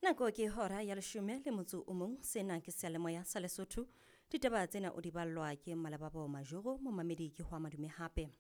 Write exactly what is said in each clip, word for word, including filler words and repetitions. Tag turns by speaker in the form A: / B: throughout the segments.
A: Nako ke hora ya leshome le motso o mong. Sena ke seyalemoya sa Lesotho. Ditaba tsena o di ballwa ke Malebabo Majoro, momamedi ke hwa madume hape.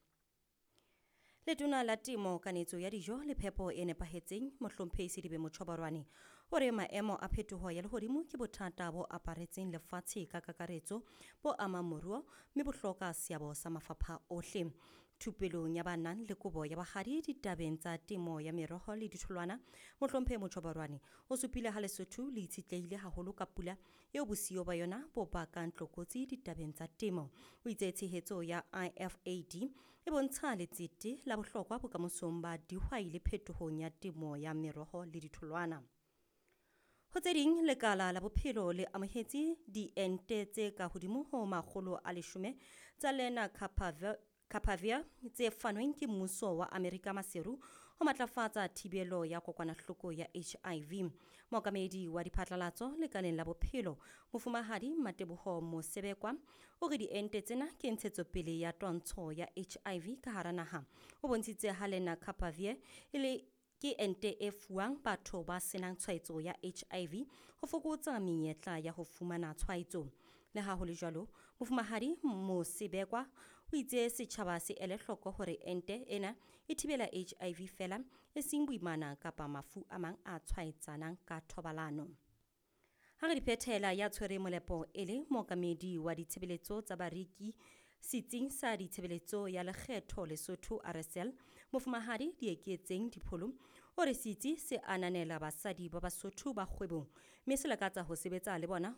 A: Letona la Temo, Kanetso ya Dijo le Phepo e Nepahetseng, Mohlomphehi Sedibe Motjhobarwane, o re maemo a phetoho ya lehodimo ke bothata bo aparetseng lefatshe ka kakaretso, bo amang moruo mme bo hloka seabo sa mafapha ohle. Thupelong ya ba nang le kobo ya bohadi ditabeng tsa temo ya meroho le ditholwana, Mohlomphehi Motjhobarwane o supile ha Lesotho le itshetlehile haholo ka pula eo bosiyo ba yona bo bakang tlokotsi ditabeng tsa temo. O itse tshehetso ya I F A D e bontsha letsete la bohlokwa bokamosong ba dihwai le phetohong ya temo ya meroho le ditholwana. Ho tse ding, lekala la bophelo le amohetse diente tse ka hodimo ho makgolo a leshome tsa Lenacapavir tse fanweng ke mmuso wa Amerika Maseru ho matlafatsa thibelo ya kokwanahloko ya H I V. Mookamedi wa diphatlalatso lekaleng la bophelo, Mofumahadi Mateboho Mosebekwa, o re diente tsena ke ntshetsopele ya twantsho ya H I V ka hara naha. O bontshitse ha Lenacapavir e le ke ente e fuwang batho ba senang tshwaetso ya H I V ho fokotsa menyetla ya ho fumana tshwaetso. Le ha ho le jwalo, Mofumahadi Mosebekwa o itse setjhaba se ele hloko hore ente ena e thibela H I V feela, e seng boimana kapa mafu a mang a tshwaetsanang ka thobalano. Ha re di phethela, ya tshwere molepo e le mookamedi wa ditshebeletso tsa bareki setsing sa ditshebeletso ya lekgetho Lesotho R S L, Mofumahadi Dieketseng Dipholo, o re setsi se ananela basadi ba Basotho ba kgwebong mme se lakatsa ho sebetsa le bona